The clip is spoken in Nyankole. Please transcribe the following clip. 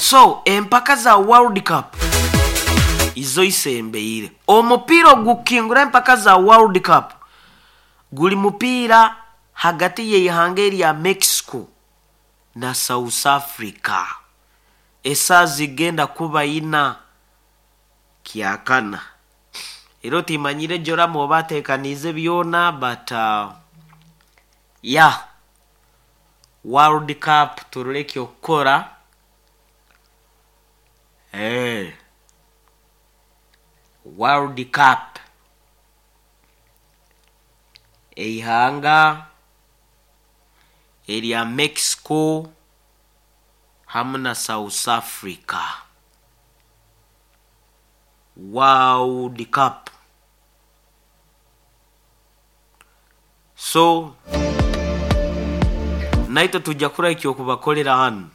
So empaka za World Cup izo isembeire. Omupiira ogukukingura empaka za World Cup guri mupiira hagati y'eihanga erya Mexico na South Africa. Esaaha zigenda kuba ina kyakana. Era otimanyire Joram oba atekaniize byona but yeah World Cup turore ekyokukora. Eeh World Cup eihanga erya Mexico hamu na South Africa. World Cup. So naitwe twija kurora ekyokubakorera hanu.